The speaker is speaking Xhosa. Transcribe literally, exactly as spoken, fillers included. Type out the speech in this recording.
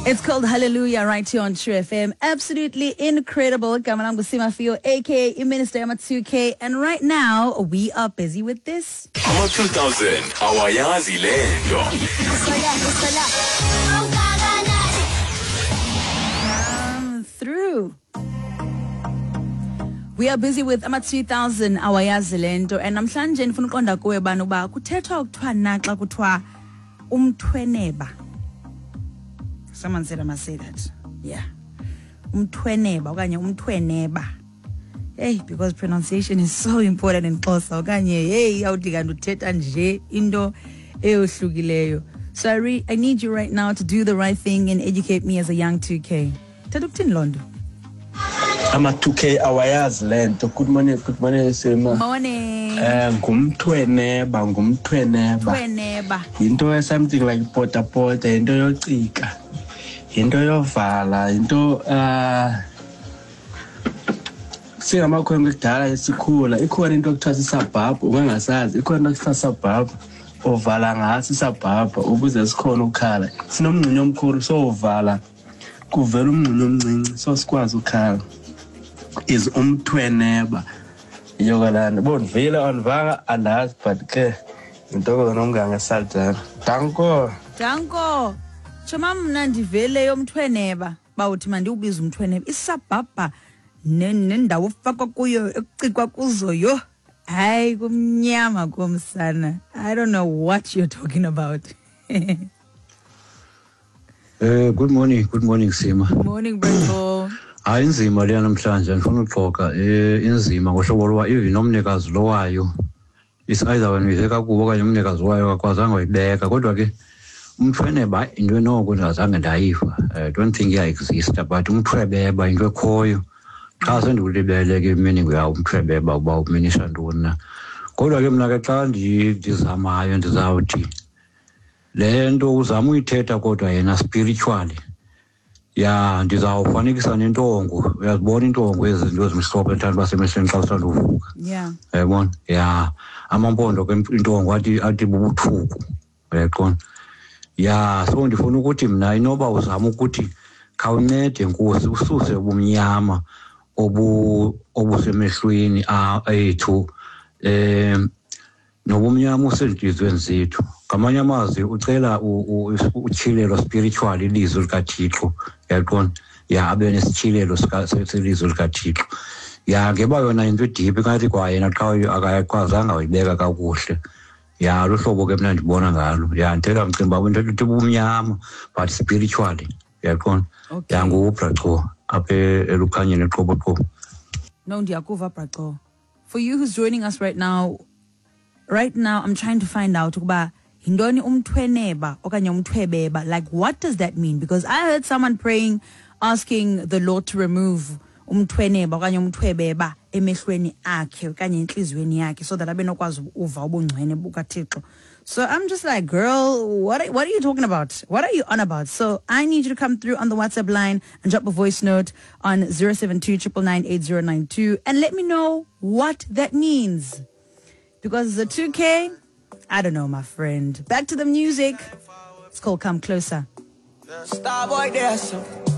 It's called Hallelujah right here on True F M. Absolutely incredible. Igama lam nguSima Fiyo, aka Minister Yama two K. And right now, we are busy with this. Ama two thousand, awayazi lento. Come through. We are busy with ama two thousand, awayazi lento. And namhlanje ndifuna uqonda kuwe bani uba kuthethwa ukuthiwa na xa kuthiwa umthweneba. Someone said I must say that. Yeah. Umthweneba okanye umthweneba. Hey, because pronunciation is so important in Xhosa okanye hey awuthi kanti uthetha nje into eyohlukileyo. So I, re- I need you right now to do the right thing and educate me as a young two K. Thetha ukuthini loo nto? Ama two K awayazi lento. Good morning, good morning Sima. Morning. Eh ngumthweneba, ngumthweneba. Thweneba. Into something like pota pota, into yocika. Into yovala, into uh singamakhwenkwe kudala esikhula, ikhona into ekuthiwa sisabhabha, ungangasazi, ikhona into ekuthiwa sisabhabha, ovala ngaso isabhabha ukuze sikhona ukukhala. Sinomngxinyo omkhulu so uvala kuvela umngxinyo omncinci so sikwazi ukukhala. Is umthweneba. Yokalana bondivile andivanga andazi but ke intokozo nomngane Saldana. Danko. Danko. Tshoma mna ndivele yomthweneba bawuthi mandiwubize umthweneba isabhabha nendawo ofakwa kuyo ekucikwa kuzo yho. Hayi kumnyama komsana. I don't know what you're talking about. Uh, good morning, good morning Sima. Morning Bravo. Hayi inzima leya namhlanje ndifuna uxoxa eh inzima ngohlobo loba even nomnikazi lo wayo is either wena uyive kakubi okanye umnikazi wayo akakwazanga uyibeka kodwa ke umthweneba into enoko ndingazange ndayiva. I don't think iya-exista but umthwebeba into ekhoyo xa sendiwulibele ke meaning yawo umthwebeba uba uminisha ntoni na. Kodwa ke mna ke xa ndizamayo ndizawuthi le nto uzama uyithetha kodwa yena spiritually ya ndizawufanekisa nentongo. Uyazibona intongo ezi zinto ezimhlophe ndithanda uba semehlweni xa usanda uvuka. Yeah. Uyayibona? Ya amampondo ke intongo athi athi bubuthuku. Uyaqonda? Ya so ndifuna ukuthi mna inoba uzama ukuthi khawuncede Nkosi ususe ubumnyama obu obusemehlweni ethu eh nobumnyama osentliziyweni zethu. Ngamanye amazwi ucela utyhilelo spiritual ilizwi likaThixo. Uyaqonda? Ya abe nesitshilelo selizwi likaThixo. Ya ngeba yona into deep ngathi kwayena xa akayakwazanga uyibeka kakuhle. Ya luhlobo ke mna ndibona ngalo. Ya ndithetha mcimbi wabo into ethi ubumnyama but spiritually. Uyaqonda? Ya nguBracho apha elukhanyeni eqoboqobo. No ndiyakuva Bracho. For you who's joining us right now, right now I'm trying to find out ukuba yintoni umthweneba okanye umthwebeba. Like what does that mean? Because I heard someone praying asking the Lord to remove umthweneba okanye umthwebeba emehlweni akhe okanye entliziyweni yakhe so that abe nokwazi uva ubungcwele bukaThixo. So I'm just like, girl, what are, what are you talking about? What are you on about? So I need you to come through on the WhatsApp line and drop a voice note on zero seven two, triple nine, eight zero nine two and let me know what that means. Because the two K, I don't know, my friend. Back to the music. It's called Come Closer. Starboy, there's some.